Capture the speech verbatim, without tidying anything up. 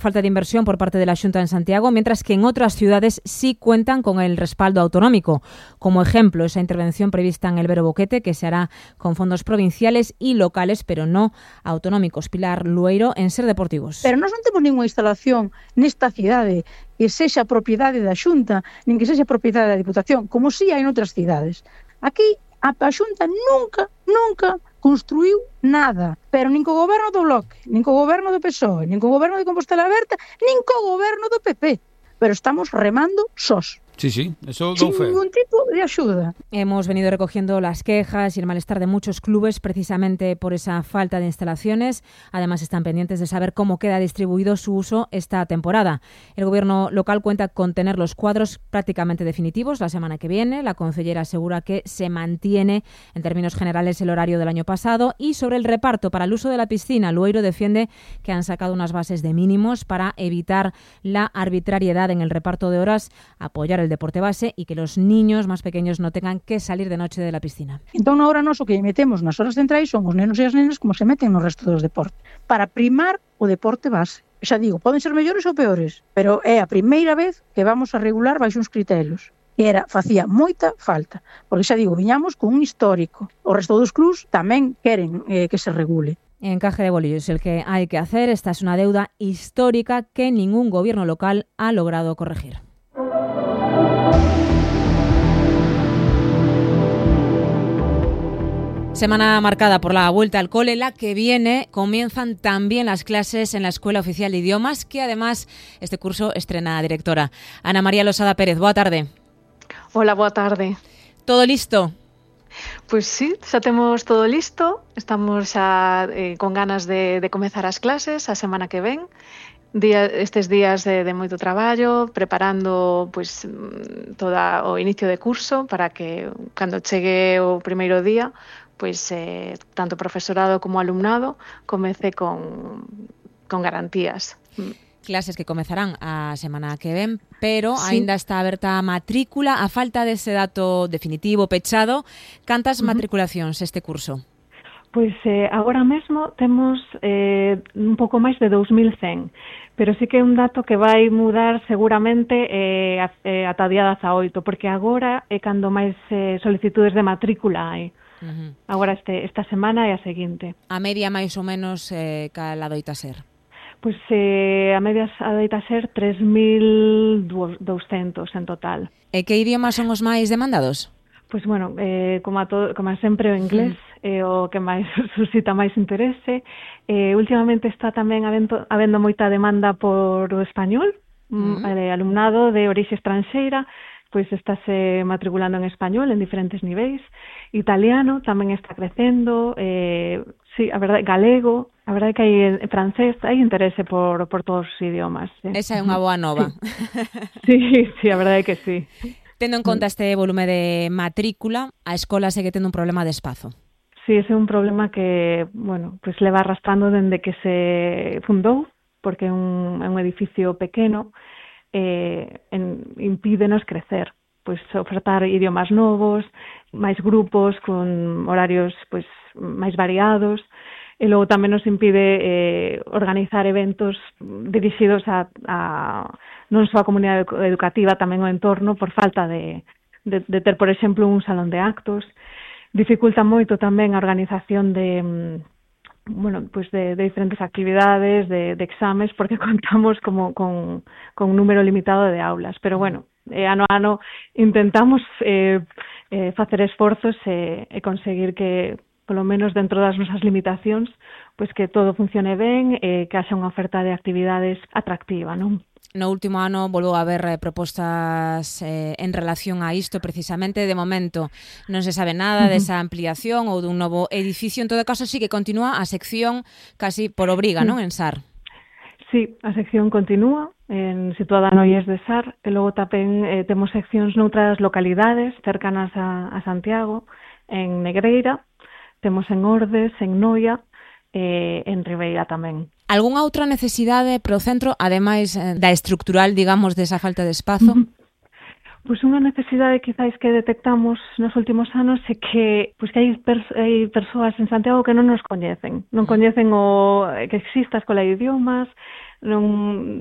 Falta de inversión por parte de la Xunta en Santiago, mientras que en otras ciudades sí cuentan con el respaldo autonómico. Como ejemplo, esa intervención prevista en el Vero Boquete, que se hará con fondos provinciales y locales, pero no autonómicos. Pilar Lueiro, en Ser Deportivos. Pero nós non temos ninguna instalación nesta cidade que sexa propiedade da Xunta, nin que sexa propiedade da Diputación, como si hai en outras cidades. Aquí a Xunta nunca, nunca construiu nada, pero nin co goberno do Bloque, nin co goberno do P S O E, nin co goberno de Compostela Aberta, nin co goberno do P P. Pero estamos remando sós. Sí, sí, eso sin ningún tipo de ayuda. Hemos venido recogiendo las quejas y el malestar de muchos clubes precisamente por esa falta de instalaciones. Además, están pendientes de saber cómo queda distribuido su uso esta temporada. El gobierno local cuenta con tener los cuadros prácticamente definitivos la semana que viene. La concejera asegura que se mantiene en términos generales el horario del año pasado. Y sobre el reparto para el uso de la piscina, Lueiro defiende que han sacado unas bases de mínimos para evitar la arbitrariedad en el reparto de horas, apoyar el deporte base y que los niños más pequeños no tengan que salir de noche de la piscina. Entón, ahora nós o que metemos nas horas centrais son os nenos e as nenas como se meten no resto dos deportes, para primar o deporte base. Xa digo, poden ser mellores ou peores, pero é a primeira vez que vamos a regular baixo uns criterios. E era, facía moita falta, porque xa digo, viñamos con un histórico. O resto dos clubs tamén queren eh, que se regule. Encaje de bolillos el que hay que hacer. Esta es una deuda histórica que ningún gobierno local ha logrado corregir. Semana marcada por la vuelta al cole, la que viene comienzan también las clases en la Escuela Oficial de Idiomas, que además este curso estrena directora. Ana María Losada Pérez, boa tarde. Hola, boa tarde. Todo listo? Pois sí, xa temos todo listo, estamos xa eh, con ganas de, de comezar as clases a semana que ven. Día, estes días de, de moito traballo, preparando pois, toda o inicio de curso para que cando chegue o primeiro día, pois eh, tanto profesorado como alumnado comece con, con garantías. Clases que comezarán a semana que ven, pero sí. Aínda está aberta a matrícula. A falta dese dato definitivo, pechado, cantas uh-huh. matriculacións este curso? Pois eh, agora mesmo temos eh, un pouco máis de dous mil cen, pero sí que é un dato que vai mudar seguramente eh, eh, ata día dezaoito, porque agora é cando máis eh, solicitudes de matrícula hai. Uh-huh. Agora este, esta semana e a seguinte. A media máis ou menos eh, cal adoita ser? Pois eh, a media adoita ser tres mil douscentos en total. E que idiomas son os máis demandados? Pois, bueno, eh, como, a todo, como a sempre o inglés é eh, o que máis suscita máis interese. Eh, últimamente está tamén habendo, habendo moita demanda por o español, uh-huh. eh, alumnado de orixe estranxeira, pois estáse matriculando en español en diferentes niveis. Italiano tamén está crecendo, eh, sí, a verdade, galego, a verdade que hai en francés, hai interese por, por todos os idiomas. Eh. Esa é unha boa nova. Sí, sí, a verdade que sí. Tendo en conta este volume de matrícula, a escola segue tendo un problema de espazo. Sí, ese é un problema que, bueno, pues leva arrastrando dende que se fundou, porque é un, é un edificio pequeno, eh, en, impídenos crecer, pues ofertar idiomas novos, máis grupos con horarios pues máis variados, e logo tamén nos impide eh, organizar eventos dirixidos a, a non só a comunidade educativa, tamén o entorno, por falta de, de, de ter, por exemplo, un salón de actos. Dificulta moito tamén a organización de, bueno, pues de, de diferentes actividades, de, de exames, porque contamos como con, con un número limitado de aulas. Pero, bueno, eh, ano a ano intentamos eh, eh, facer esforzos e eh, eh, conseguir que, polo menos dentro das nosas limitacións, pois que todo funcione ben e eh, que haxa unha oferta de actividades atractiva, non? No último ano volveu a haber eh, propostas eh, en relación a isto precisamente. De momento non se sabe nada uh-huh. desa ampliación ou dun novo edificio. En todo caso, sí que continúa a sección casi por obriga, uh-huh. non, en Sar? Sí, a sección continúa en, situada no I E S de Sar, e logo tamén eh, temos seccións noutras localidades cercanas a, a Santiago, en Negreira, temos en Ordes, en Noia e en Ribeira tamén. Algúnha outra necesidade pro centro, ademais da estructural, digamos, desa falta de espazo? Uh-huh. Pois unha necesidade quizáis que detectamos nos últimos anos é que, pois que hai, pers- hai persoas en Santiago que non nos coñecen, non coñecen o que existe a Escola de Idiomas, non